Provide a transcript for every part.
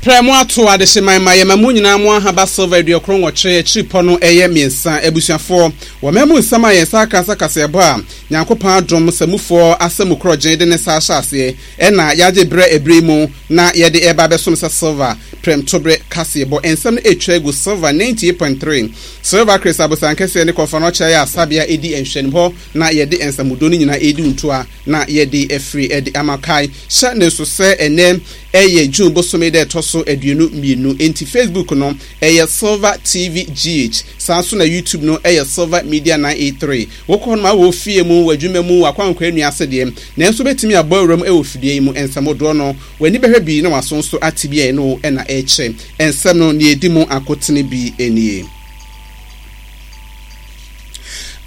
Prɛ mo ato adehyeman ma yɛma mo nyinaa mo ahaba silver 98 akyiripɔ no ɛyɛ mmiɛnsa. Abusuafoɔ, wɔ mmamu nsɛm a yɛn nsa aka sɛ kaseɛbɔ a Nyankopɔn adom samufoɔ asamu korɔgyen de ne nsa ahyɛ aseɛ ɛna yɛagye berɛ ɛberɛ yi mu na yɛde ɛreba abɛsom sɛ silver prɛmtoberɛ kaseɛbɔ nsɛm no ɛretwa agu Silver 98.3 Silver Chris Abosankɛseɛ ne Kɔmfoanoɔkyɛ ayɛ asabea ɛdi nhwɛnim hɔ na yɛde nsamudo no nyinaa ɛredi ntoa na yɛde afiri de ama. Kae hyɛ no nso sɛ ɛnnɛ ɛyɛ June bosome da ɛtɔ so 22, enti Facebook no ɛyɛ Silver TV GH, saa nso na YouTube no ɛyɛ Silver Media 983. Wokɔ hɔ nom a wɔ fie mu, w'adwuma mu, w'akwankwa nnua ase deɛ, nanso wobɛtumi abɔ awura mu wɔ fidua yi mu. Nsɛmmodoɔ no, w'ani bɛhwɛ bi na w'aso nso ate bi a ɛne wo na ɛrekyɛ nsɛm no, nea ɛdi mu akotene bi nie.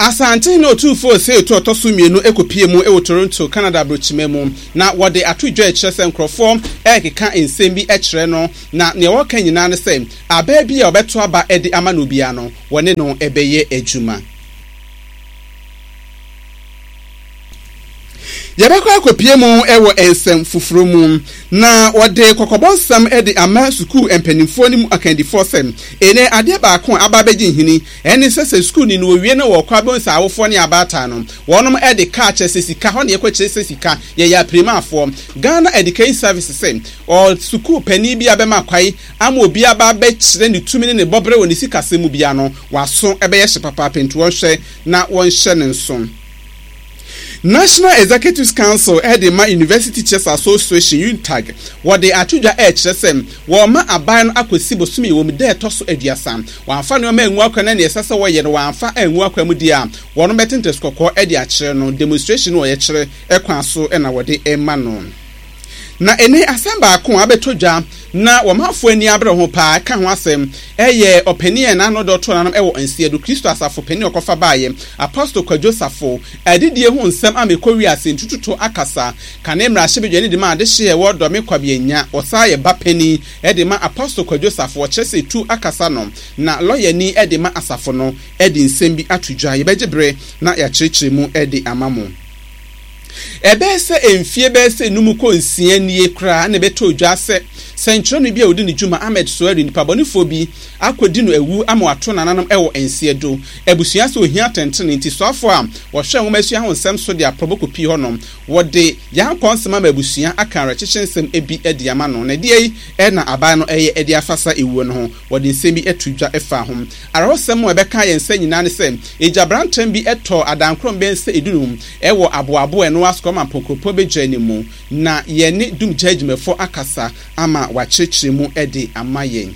Asantehene Otumfoɔ Osei Tutu a ɔtɔ so mmienu kɔpuee mu wɔ Toronto, Canada aburokyima mu, na wɔde ato dwa rekyerɛ sɛ nkurɔfoɔ rekeka nsɛm bi kyerɛ no, na nea wɔreka nyinaa ne sɛ abaa bi a ɔbɛto aba de ama no biara no, wɔne no bɛyɛ adwuma. Yɛbɛkɔ akɔpue mu wɔ nsɛm foforɔ mu, na wɔde kɔkɔbɔ nsɛm de ama sukuu mpanimfoɔ ne mu akandifoɔ sɛ, ɛnnɛ adeɛ baako a aba abɛgye nhini ne sɛ, sɛ sukuuni no wɔwie na wɔkɔ abɛhu sɛ awofoɔ ne abaatan no, wɔnom de kaa kyerɛ sɛ sika, hɔ na yɛkɔkyerɛ sɛ sika, yɛyɛ apirimafoɔ. Ghana Education Service sɛ, ɔ sukuu panin bi a bɛma kwae ama obi aba abɛkyerɛ ne tumi ne ne bɔberɛ wɔ ne sikasɛm mu biara no, w'aso bɛyɛ hye papaapa nti wɔnhwɛ na wɔnhyɛ no nso. National Executives Council de ma University Teachers Association, UNTAG, wɔde ato dwa rekyerɛ sɛ wɔrema aban no akɔsi bosome wɔ mu da ɛtɔ so 30. Wɔamfa nneɛma angu akwan na nea ɛsɛ sɛ wɔyɛ no wɔamfa angu akwan mu deɛ a, wɔn bɛte ntɛsukɔkɔɔ de akyerɛ no. Demonstration no ɔyɛkyerɛ kwan so na wɔde rema no. Na ɛnnɛ asɛm baako a abɛtɔ dwa na wɔmanfoɔ ani abere ho paa ka ho asɛm yɛ ɔpanin a n'ano dɔ too n'anom wɔ nseɛ do, Kristo asafo panin a ɔkɔfa baeɛ, Apostle Kwadwo Safo, adidie ho nsɛm ama ɛkɔ wiase ntututo akasa, kane mmarahyɛbadwani de ma adehyeɛ a ɛwɔ Dɔme Kwabeanya, ɔsan yɛ ba panin de ma Apostle Kwadwo Safo, ɔkyerɛ sɛ tu akasa no, na lɔyani de ma asafo no de nsɛm bi ato dwa. Yɛbɛgye bere na yɛakyerɛkyerɛ mu de ama mo. Ɛbɛyɛ sɛ mfeɛ bɛyɛ sɛ num kɔ nsia nie koraa na ɛbɛtɔɔ dwa sɛ sɛnkyerɛwni bi a ɔdi ne dwuma, Ahmed Suari, nipabɔnefoɔ bi akɔdi no awu ama wato nananom wɔ nseɛ do abusua sɛ ɔhia atɛntrenee nti soafoɔ a wɔhwɛ nwomasua ho nsɛm so de aprɔbɔ kɔpie hɔ nom. Wɔde yankɔ nsɛm ama abusua aka awerɛkyekye nsɛm bi de ama no. Na ɛdeɛn na aban no reyɛ de afa saa ɛwuo no ho? Wɔde nsɛm bi to dwa faa ho. Awerɛhosɛm a ɛbɛkaa yɛn nsa nyinaa ne sɛ, egyabrantɛm bi tɔɔ adankorom bɛyɛ sɛ dunum wɔ Aboabo a ɛno ara Sukɔma Mpokuropɔn Badwa no mu, na yɛne Dumgya adwumayɛfoɔ akasa ama wɔakyerɛkyerɛ mu de ama yɛn.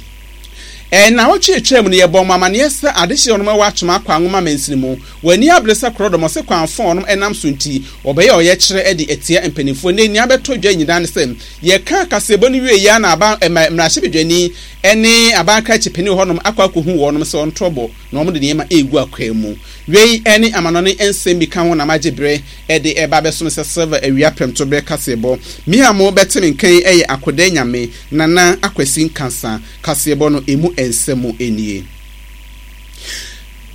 Nnawɔtwe a etwaam no, yɛbɔɔ mo amanneɛ sɛ adehye a wɔnom wɔ Atwoma Akwa Nwoma mansini mu, wɔn ani abere sɛ korɔdɔm ɔse kwan fo a wɔnom nam so nti, wɔbɛyɛ ɔyɛkyerɛ de atia mpanimfoɔ. Nnɛ nea abɛtɔ dwa nyinaa ne sɛ, yɛkaa kaseɛbɔ no wieeɛ ara na aban, mmarahyɛbadwani ne aban krakye panin wɔ hɔnom akɔ akɔhu wɔnom sɛ wɔnto bo na wɔde nneɛma regu akwaa mu. Wei ne amanɔne nsɛm bi ka ho na magye berɛ de reba abɛsom sɛ Silver awia prɛmtoberɛ kaseɛbɔ. Me a mo bɛte me nka yi yɛ Akodɛɛ Nyame Nana Akwasi Nkansah. Kaseɛbɔ no ɛmu nsɛm nie.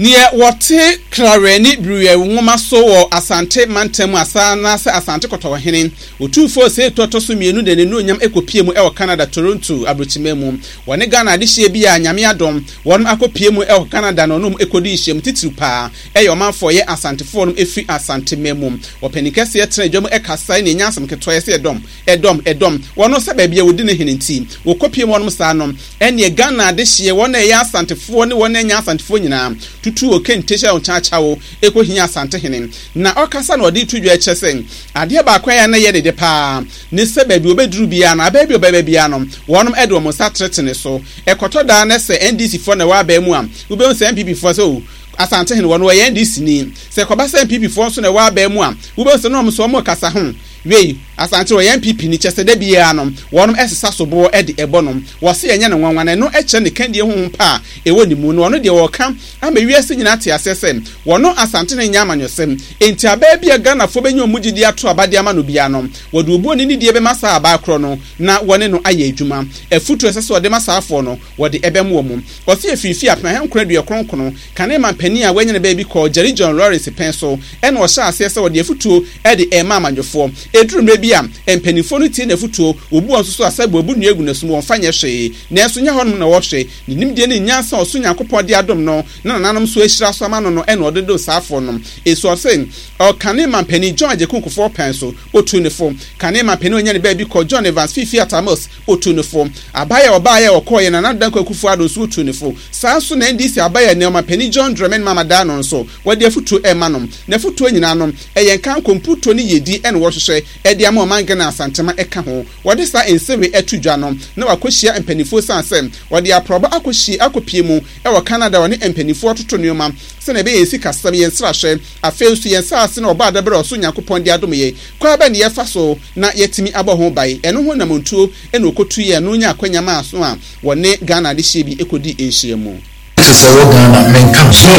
Neɛ wɔte Krawerɛ ne Biriwɛ nwoma so wɔ Asante mantam mu asa anaasɛ Asante Kɔtɔkɔhene, Otumfoɔ Osei Tutu ɔtɔ so mmienu de n'anuonyam kɔpie mu wɔ Canada Toronto aburokyiman mu. Wɔne Ghana adehyeɛ bi a Nyame adom wɔnom akɔpie mu wɔ Canada na ɔnom kɔdi nhyiamu titiriw paa ɛyɛ ɔmanfoɔ ɛyɛ Asantefoɔ nom ɛfiri Asanteman mu. Ɔpanin kɛseɛ tena dwa mu kasae na ɛnyɛ asɛm ketewa yɛsɛ ɛdɔm Ɛdɔm, ɛdɔm, wɔn sɛ baabi a wɔdi ne hene nti, wɔkɔpiem hɔnom saa no, ɛnneɛ Ghana adehyeɛ, wɔn a ɛyɛ Asantefoɔ ne wɔn a ɛnyɛ Asantefoɔ nyinaa, tutuu okente hyɛɛ wɔn kyaakyawo kɔhiaa Asantehene. Na ɔkasa na ɔde reto dwa kyerɛ sɛ, adeɛ baako a ɛyɛ a na ɛyɛ ne dɛ pa ara ne sɛ baabi a ɔbɛduru biara no, abaa bi a ɔbɛba biara no, wɔnom de wɔn nsa tenetene so. Ɛkɔtɔ da na sɛ NDC foɔ na ɛwɔ abaa mu a, wobɛhu sɛ NPP foɔ sɛ oh, Asantehene, wɔn wɔyɛ NDC ni. Sɛ ɛkɔba sɛ NPP foɔ nso na ɛwɔ abaa mu a, wobɛhu sɛ na wɔn nso wɔrekasa ho. Wei, Asante wɔyɛ NPP ni, kyɛsɛ da biara no wɔnom ɛsesa soboɔ de ɛbɔ no. Wɔse ɛnyɛ no nwanwa na ɛno kyerɛ ne kandie honhom pa a ɛwɔ ne mu. Na ɔno deɛ ɔɔka ama wiase nyinaa ate aseɛ sɛ wɔno Asante no nyɛ amanyɔsɛm. Enti abaa bi a Ghanafoɔ bɛnya wɔn gyidie ato aba de ama no biara no, wɔde obuo ne nidie bɛma saa abaa korɔ no na wɔne no ayɛ adwuma. Afutuo a ɛsɛ sɛ wɔde ma saafoɔ no, wɔde ɛbɛm wɔn. Ɔse ɛfiri mfeɛ 1999 kane manpanin a wanya ne baabi kɔɔ Jerry John Lawrence pɛn so ɛna ɔhyɛɛ aseɛ sɛ ɔde afutuo de rema amanyɔfoɔ. Ɛduru mmerɛ bi a, mpanimfoɔ no tie n'afotuo, wɔbu wɔn nso so a sɛ wɔabu nnua agu n'asom, wɔmfa nyɛ hwee. Nanso nyɛ hɔnom na wɔhwɛ. Ne nimdeɛ ne nyansa a ɔsoro Nyankopɔn de adom no, na nananom nso ahyira so ama no no na ɔde dom saa afoɔ no. Eso ɔse, Ɔkane mampanin John Agyekum Kufuor pɛn so, ɔtuu no fo. Kane mampanin a ɔnya ne baabi kɔ, John Evans Fiifi Atta Mills, ɔtuu no fo. Abaeɛ a ɔbaeɛ a ɔkɔeɛ, Nana Addo Dankwa Akufo Addo nso ɔtuu no fo. Saa nso na NDC abaeɛ a nnɛ ɔmampanin John Dramani Mahama da ano nso, wɔde afotuo rema no. N'afotuo nyinaa no, ɛyɛ nkanko, mputuo ne yiedie na wɔhwehwɛ de ama ɔman Ghana a Asantema ka ho. Wɔde saa nsɛm wei to dwa no, na wɔakɔhyia mpanimfoɔ esiane sɛ wɔde aprɔbɔ akɔhyia akɔpie mu wɔ Canada a wɔne mpanimfoɔ toto nneɛma sɛnea ɛbɛyɛ yɛn sikasɛm, yɛn nsrahwɛ, afei nso yɛn nsaase na ɔbɔ adabere a ɔsoro Nyankopɔn de adom yɛn. Kwan bɛn na yɛfa so na yɛatumi abɔ ho ban? Ɛno ho anammɔntuo na wɔkɔtuiɛ a ɛno nyaa akwanya maa so a wɔne Ghana adehyeɛ bi kɔdii nhyiamu. Te sɛ wɔ Ghana menka ho menka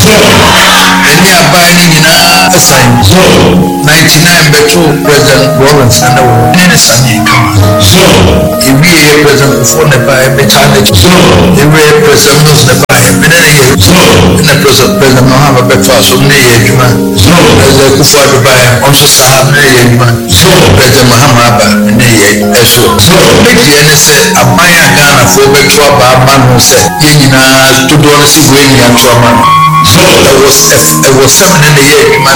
ho ɛne aban no nyinaa san 99 bɛto President Rawlings na na wɔ hɔ ne ne saneɛ kama yɛwieɛ President Kufuor na ɛbaeɛ metaa n'akyi yɛwieɛ President Mills na ɛbaeɛ me ne ne yɛ ɛna President President Mahama bɛtoa so me ne yɛ adwuma President Akufo-Addo baeɛ ɔno nso saa me ne yɛ adwuma President Mahama aba me ne yɛ ɛso. Me deɛ ne sɛ aban a Ghanafoɔ bɛto aba ama no sɛ yɛn nyinaa dodoɔ no sɛ wei ne yɛato ama no. Ɛwɔ ɛwɔ sɛ me ne no yɛ adwuma.